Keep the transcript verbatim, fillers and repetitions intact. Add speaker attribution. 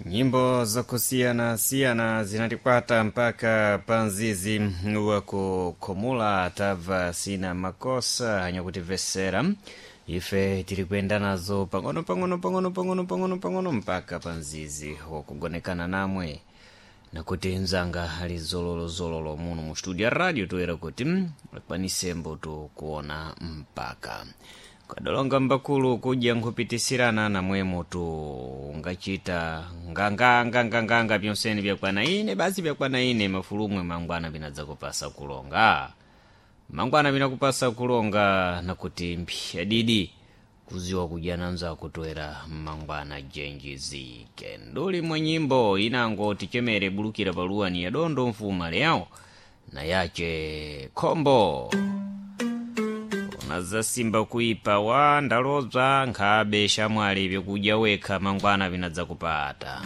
Speaker 1: Nyimbo zakusiyana siyana zinatikwata mpaka panzizi wakukhumula tabva sina makosa anyakutimvesera ife tiri kuyenda nazo pang'ono pang'ono pang'ono pang'ono pang'ono pang'ono mpaka panzizi wakugonekana namwe nakuti mzanga ali zololozololo muno mu studio ya radio toyera kuti akwanise mbuto kuona mpaka kadolonga mbakulu kudya nkhupitisirana namwemo tu ungachita nganganganganganga pyonsene byakwana ine basi byakwana ine mafulumwe mangwana binadzakupasa kulonga mangwana binakupasa kulonga nakuti mpya didi kuziwa kudya nanzako toera mangwana jenjizike nduli mwa nyimbo inango tichemere bulukira paluwani ya dondo mfuma leyawo na yache khombo unazasimba kuipa wa ndalodzwa nkhabe shamwali vyakudya wekha mangwana vinadzakupata.